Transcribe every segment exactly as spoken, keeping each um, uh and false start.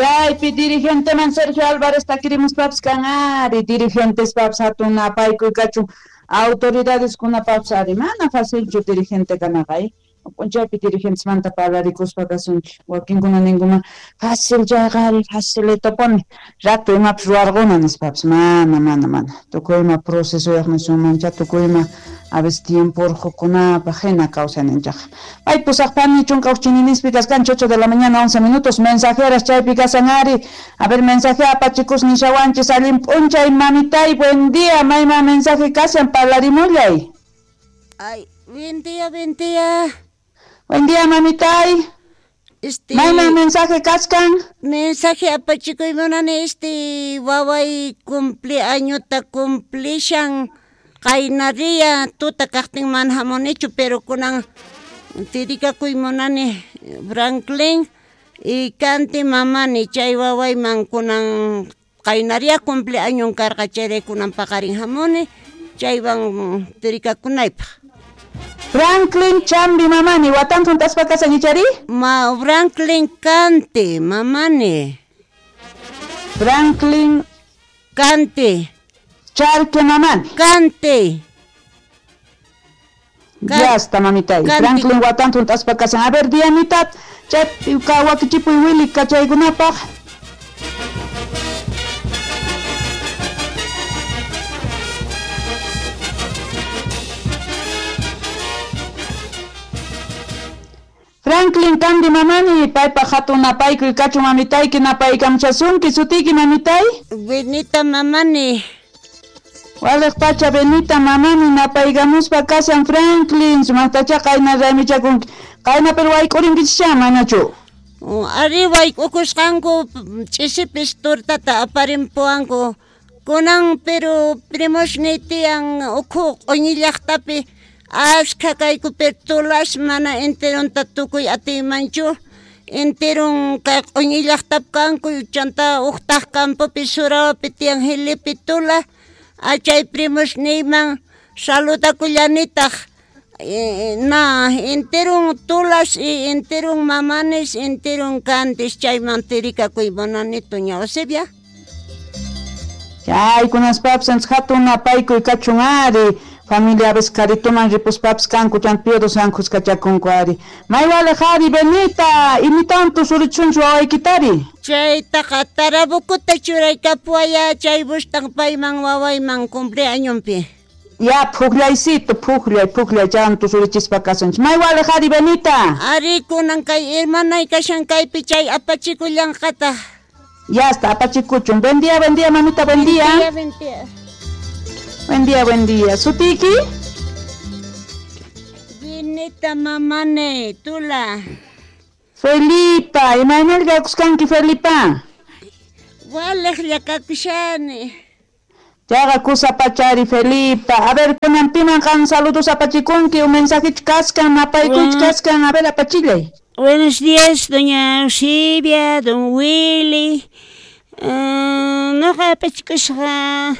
Chaypi dirigenteman Sergio Álvarez takirimuspapis kan ari dirigentespapis hatun napaykuy kachun autoridadeskunapapis ari mana facilchu dirigente kanaqa ay p'unchaypi dirigentesmanta parlarikuspa kasunchik wakinkuna ninkuma fácil chayqa ari facilitopuni rato imapis ruwarquna nispapis mana mana mana tukuy ima procesoyaq nisunmancha tukuy ima a veces tiempo urqukunapaq hina kawsayninchaq pay pusaqpani chunka uqchininispi kaskanchik ocho de la mañana once minutos mensajeras chaypi kasan ari a ver mensaje apachikus nishawanchis allin p'unchay mamitay buen día mayman mensaje kashan parlarimullay. Ay, buen día, buen día. Buen día, mamitay. Este Mayman mensaje kaskan? Mensaje apachikuy munani este waway cumpleañota cumplishan qaynaria tuta kaqtin mana hamunichu pero kunan tirikakuy munani Franklin y Kanti mamani chay wawayman kunan qaynaria cumpleañon karqa chayrayku kunan paqarin hamuni chaywan tirikakunaypaq. Franklin Chambi mamani, watan juntaspa kasan ichari? Ma Franklin Kanti mamani. Franklin Kanti. Charque mamani. Kanti. Ya está mamitay. Franklin watan juntaspa kasan. A ver, Dianita, chay wakichipuy Willy kachaykunapaq. Franklin Kandi mamani, paypa hatun napaykuy kachun mamitayki napaykamchasunki sutiyki mamitay? Benita mamani. Waliq pacha Benita mamani napaykamuspa kashan Franklin sumaqtacha qayna raymichakunki qayna pero wayk'urinkichikcha manachu? Ari wayk'ukusqanku ch'isipis tortata aparimpuwanku kunan pero primosniy tiyan ukhu q'uñi llaqtapi ashkha kayku pero tulas mana enteronta tukuy atiymanchu enteron kay q'uñi llaqtapi kanku chanta uqtaq campopi Surawapi tiyan Jilipi tula achay primosniyman saludakullanitaq na enteron tulas y enteron mamanes enteron cantes chayman tirikakuy munani doña Eusebia. Chaykunaspapis hatun napaykuy kachun ari familia aves karituman ripuspapis kanku chan piodos ankuskachakunku ari maywaliq ari Benita imitawan tusurichunchu wawaykitari? Chaytaqa Tarabukuta churaykapuwaya chay bustan payman wawayman cumpleañonpi. Ya pukllaysito pukllay pukllay chan tusurichispa kasunchik maywaliq ari Benita. Ari kunan kay hermanay kashan kaypi chay apachikullanqataq. Ya está apachikuchun. Buen día, buen día mamita, buen día. Buen día, buen día. Buen día, buen día. ¿Sutiki? Benita mamane, tula. Felipa, imaynalqa kuskanki Felipa? Waliqlla kakushani. Chaqa kusapachari Felipa. A ver, kunan piman qan saludos apachikunki, un mensajich kaskan, napaykuch kaskan, a ver, apachillay. Buenos días, doña Eusebia, don Willy. Uh, noqa apachikusqa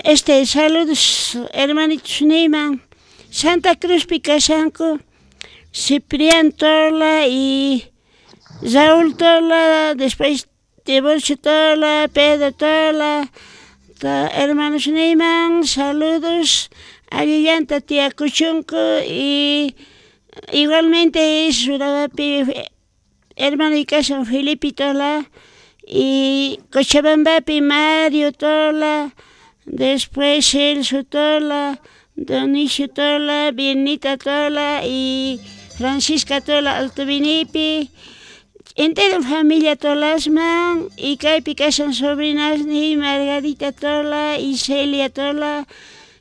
este saludos hermanitos niyman Santa Cruzpi kashanku Ciprián Tola y Raúl Tola, después Tiburcio Tola, Pedro Tola, ta, hermanos niyman saludos allillanta tía Kuchunku y igualmente Surawapi hermano y kashan Felipe Tola y Cochabambapi Mario Tola, después Celso Tola, Donicio Tola, Bienita Tola y Francisca Tola Alto Vinipi. Entero familia Tolasman y kaypi kashan sobrinas ni Margarita Tola y Celia Tola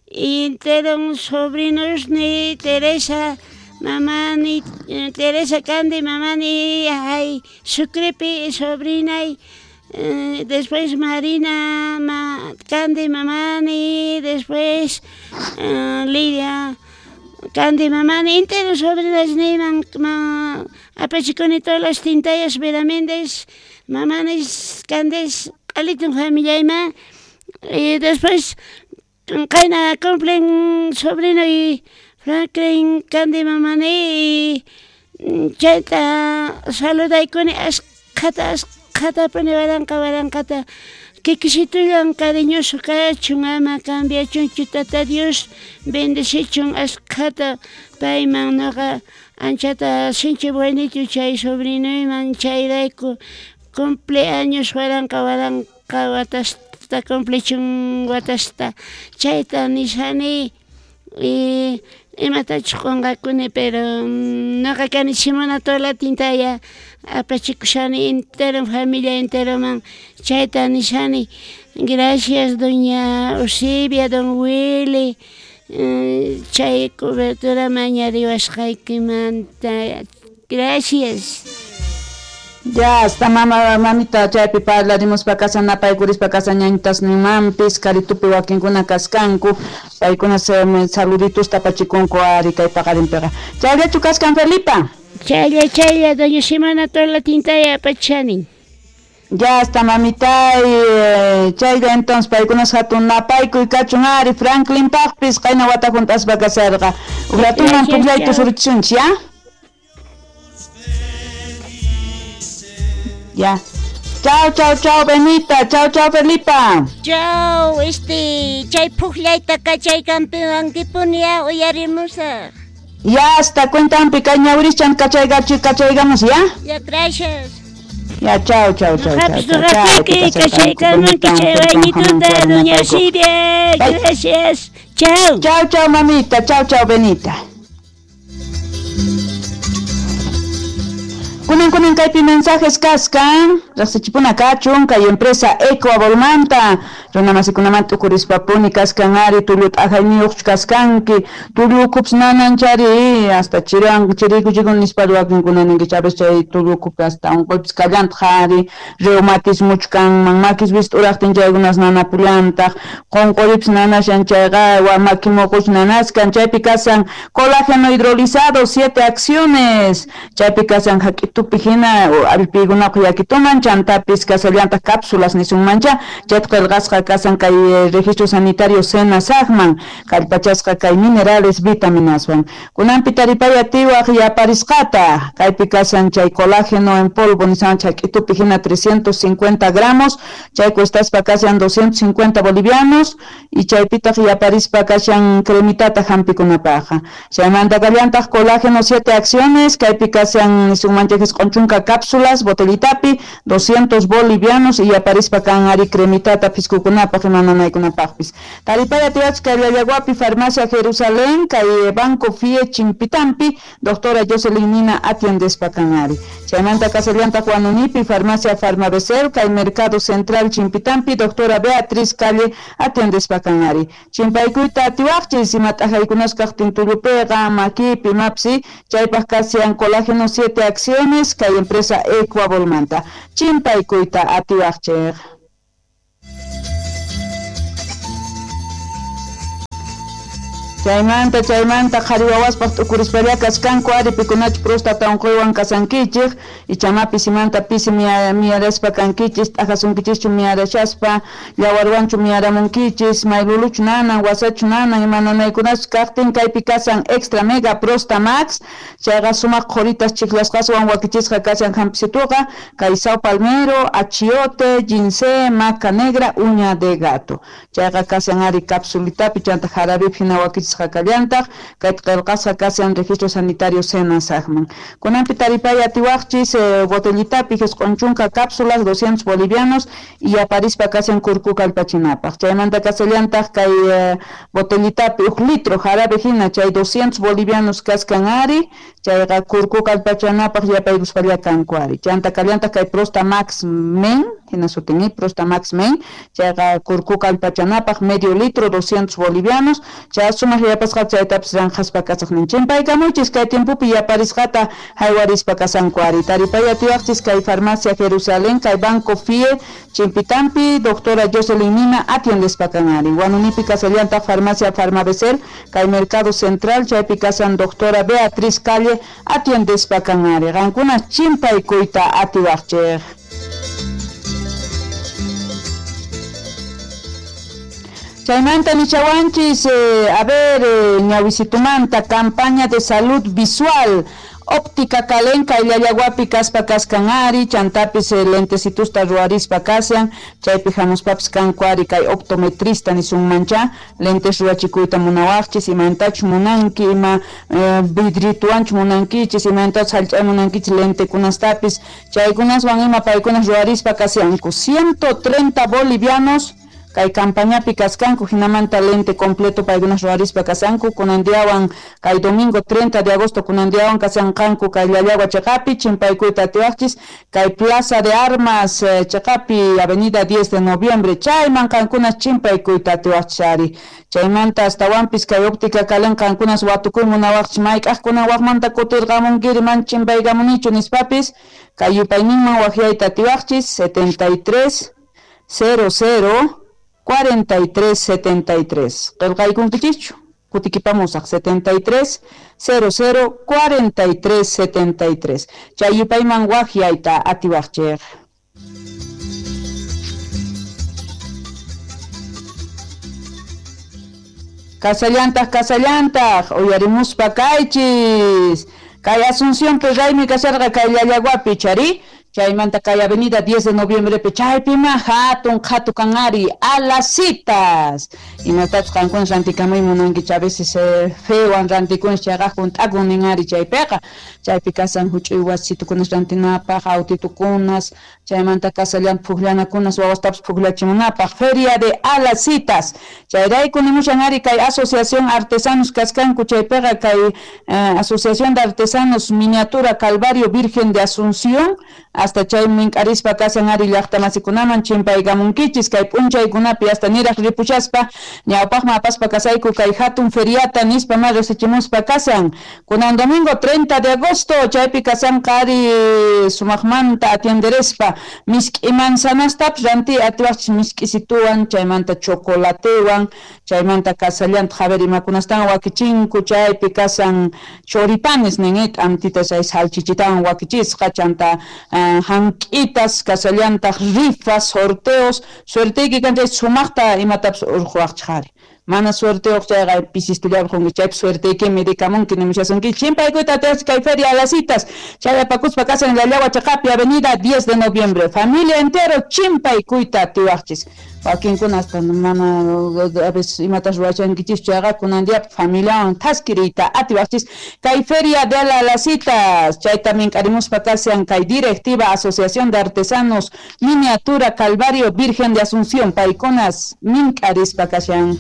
y entero sobrinos ni Teresa mamani Teresa Candy mamani ay Sucrepi sobrina y eh, después Marina ma, Candy mamani después eh, Lidia Candy mamani entero sobrinas ni man, ma, apachikuni todas las tintayas Vera Méndez mamanis Candes alitun familia ima y después qayna cumplen sobrino y Franklin Candy mamani y chayta saludaykuni Asqhata asqhatapuni waranqa waranqata kikisitullan cariñoso kachun ama cambiachunchu Tata Dios bendecichun asqhata payman noqa anchata sinchi buenito chay sobrinuyman chayrayku cumpleaños waranqa waranqa watasta cumplichun watasta chayta nishani y imatachus qonqakuni pero noqa kani Simona Tola Tintaya apachikushani entero familia enteroman chayta nishani gracias doña Eusebia, don Willy chay cobertura mañariwasqaykimanta gracias. Ya hasta mama mamita chaypi parlarimuspa kashan napaykurispa kashan ñañitasninmanpis karitupi wakinkuna kaskanku paykuna saluditos tapachikunku ari kay paqarinpiqa chayllachu kaskan Felipa. Chaylla chaylla doña Simona Tola Tintaya apachani. Ya hasta mamita y chaylla entonces paykunas hatun napaykuy kachun ari Franklin paqpis qayna wata juntaspa kasarqa uqratuman pukllayta surichisunchik ya. Ya. Chao, chao, chao, Benita. Chao, chao, Felipa. Chao, este, chay pukllayta kachay campeón ya uyarimusaq. Ya, hasta cuentan picaña urichan kachaygachi kachaygamos, ¿ya? Ya, gracias. Ya, chao, chao, chao, chao. Chao, doña Silvia. Gracias. Chao. Chao, chao, mamita. Chao, chao, Benita. Kunan kunan kaypi mensajes kaskan raqsichipuna kachun kay empresa Eco Abolmanta runa masikunamanta ukurispapuni kaskan ari tullu t'ajayniyuqchu kaskanki tullu ukhupas nananchari hasta chiran chirikuchikun nispa wakinkuna ninkichik a veces chay tullu ukhupi hasta unquypis kallantaq ari reumatismuchu kanman makis wist'uraqtin chaykunas nanapullantaq qunquripis nanashan chayqa wa maki muquch nanaskan chaypi kasan colágeno hidrolizado siete acciones chaypi kasan hak'itupi hina allpiykunaqa yakituman chantapis kasallantaq cápsulas nisunmancha chayta qillqasqa kasan kay registro sanitario SENASAGman kallpachasqa kay minerales vitaminaswan kunanpi taripay atiwaq yaparisqata kaypi kasan chay colágeno en polvo nisan chak'itupi hina trescientos cincuenta gramos chay cuestaspa kasan doscientos cincuenta bolivianos y chaypitaq yaparispa kashan cremitata hampikunapaqqa chaymanta kallantaq colágeno siete acciones kaypi kasan nisunmancha q'unchunka cápsulas botellitapi doscientos bolivianos y aparispa kan ari cremitata piskukunapaq imananaykunapaqpis taripay atiwach kay Llallaguapi farmacia Jerusalén kay Banco F I E Chimpitampi doctora Jocelyn Nina atiendespa kan ari chaymanta kasallantaq Huanunipi farmacia Farmabecel kay Mercado Central Chimpitampi doctora Beatriz Calle atiendespa kan ari chimpaykuyta atiwaqchis ima t'ajaykunas kaqtin tullupiqa makipi mapsi chaypaq kasian colágeno siete acciones kay empresa Ecuabolmanta chimpaykuyta atiwaqchik. Chaymanta chaymanta qhari wawaspaq t'ukurispalla kaskanku ari pikunachu próstata unquywan kasankichik ichama pisimanta pisi miyaraspa kankichis t'ajasunkichikchu miyarashaspa llawarwanchu miyaramunkichis mayluluchu nanan wasachu nanan ima nanaykunachu kaqtin kaypi kasan extra mega prosta max chayqa sumaq qhuritas chiklasqaswan wakichisqa kashan hampisituqa kay sao palmero achiote ginseng maca negra uña de gato chayqa kashan ari capsulitapi chanta jarabipi hina wakichisqa kallantaq kayta qillqasqa kashan registro sanitario SENASAGman kunanpi taripay atiwaqchis eh, botellitapi q'unchunka cápsulas doscientos bolivianos y aparispa kashan kurku kallpachinapaq chaymanta kasallantaq kay eh, botellitapi uk litro jarabe hina chay doscientos bolivianos kaskan ari chayqa kurku kallpachanapaq yapaykuspalla kanku ari chanta kallantaq kay Prosta Max Men hina sutin Prosta Max Men chayqa kurku kallpachanapaq medio litro doscientos bolivianos chay sumaq yapasqa chaytapis ranqaspa kasaqnin chimpaykamuchis kay tiempopi yaparisqata haywarispa kasanku ari taripay atiwaqchis kay farmacia Jerusalén kay Banco F I E Chimpitampi doctora Jocelyn Nina atiendespa kan ari Huanunipi kasallantaq farmacia Farmabecel kay Mercado Central chaypi kasan doctora Beatriz Calle atiendespa kan ari qankuna chimpaykuyta atiwaqchik. Chaymanta nichawanchis, eh, a ver, eh, ñawisitumanta, campaña de salud visual, Óptica Calen kay Llallaguapi kaspa kaskan ari, chantapis eh, lentecitusta ruarispa kashan, chaypi hamuspapis kanku ari kay optometrista nisunmancha, lentes ruachikuyta munawaqchis, imantachus munanki, ima eh, vidrituanchu munankichis, imantachus hallch'ay munankichis lentekunastapis, chaykunaswan ima paykunas ruarispa kashanku. ciento treinta bolivianos kay campañapi kaskanku, hinamanta lente completo paykunas ruarispa kasanku, kunandiawan kay domingo treinta de agosto kunandiawan kasanqanku kay Llallagua cheqapi, chimpaykuyta atiwaqchis kay Plaza de Armas eh, cheqapi avenida diez de noviembre, chayman qankunas chimpaykuyta atiwaqchis ari. Chaymanta astawanpis kay Óptica Calen qankunas watukuy munawaqchis, mayk'aqkunan waqmanta kutirqamunkiri man chimpaykamunichu nispapis, kay yupayninman waqyayta atiwaqchis setenta y tres cero cero cuarenta y tres setenta y tres. Qillqaykunkichischu, kutikipamusaq setenta y tres cero cero cuarenta y tres setenta y tres. Chay yupayman waqyayta atiwaqchik. Kasallantaq, kasallantaq, uyarimuspa kaychis. Kay Asunción pe raymi kasharqa kay Llallaguapi chari. Chaymanta kay avenida diez de noviembre pe chaypima hatun qhatu kan ari a las citas. Imatachus qankuna rantikamuy munankichis, a veces eh, fewan rantikunchis chayqa junt'akun nin ari chaypiqa. Chaypi kasan huch'uy wasitukunas rantinapaq, autitukunas, chaymanta kasallan pukllanakunas wawastapas pukllachimunapaq. Feria de a las citas. Chayrayku nimushan ari kay Asociación Artesanos kaskanku chaypiqa kay eh, Asociación de Artesanos Miniatura Calvario Virgen de Asunción, hasta chay mink'arispa kasan ari llaqtamasikunaman chimpaykamunkichis kay p'unchaykunapi hasta niraq ripuchaspa ñawpaqman apaspa kasayku kay hatun feriata nispa ma resichimuspa kasan. Kunan domingo treinta de agosto chaypi kasanqa ari sumaqmanta atienderespa misk'i manzanastapis ranti atiwaqchis misk'isituwan, chaymanta chocolatewan, chaymanta kasallantaq a ver imakunastan wakichinku, chaypi kasan choripanes nin t'antita chay salchichitawan wakichisqa, chanta uh, hank'itas, kasallantaq rifas, sorteos, suerteyki kan chay sumaqta imatapis urquwaqchis ari. Mana suerteyuq chayqa pisistullapi qunki, chaypi suerteykimi rikamunki nimushasunki. Chimpaykuyta atiwaqchis kay feria a las citas, chay apakuspa kasan Llallagua cheqapi avenida diez de noviembre. Familia entero chimpaykuyta atiwaqchis. Wakinkuna hasta mana a veces imatas ruwachankichis chayqa kunan diapi familiawan thaskiriyta atiwaqchis kay feria de la las citas. Chayta mink'arimuspa kashan kay directiva Asociación de Artesanos Miniatura Calvario Virgen de Asunción, paykunas mink'arispa kashan.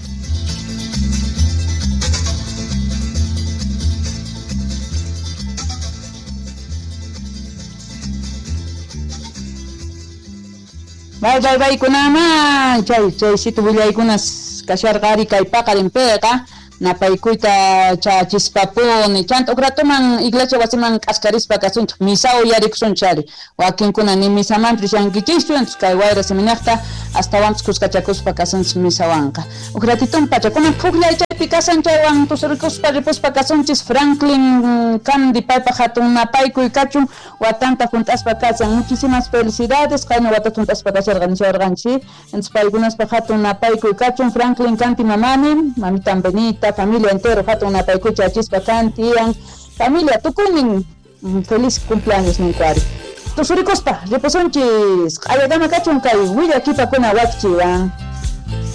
Bay, bay, bay, kunaman. Chay, chay, situ willaykunas kasharqa ari kay paqarinpiqa napaykuyta chachispapuni. Chanta ukratuman iglesia wasiman k'askarispa kasunchik, misa uyarikusunchik ari. Wakinkuna ni misamanpis rishankichischu, entonces kay wayra seminaqta astawanpis kuskachakuspa kasunchik misawanqa. Ukratitun pacha, kunan pukllay chaypi kasan chaywan tusurikuspa ripuspa kasunchis Franklin Candy paypaq hatun napaykuy kachun watanta junt'aspa kasan. Muchísimas felicidades, qayna watata junt'aspa kasharqa nisharqanchik. Entonces paykunaspaq hatun napaykuy kachun Franklin Candy mamani, mamitan Benita, familia entero hatun napaykuy chachispa kantian, familia tukunin feliz cumpleaños ninkuari. Tusurikuspa ripusunchis, q'ayadama kachun kay willakipakuna wakchiwan.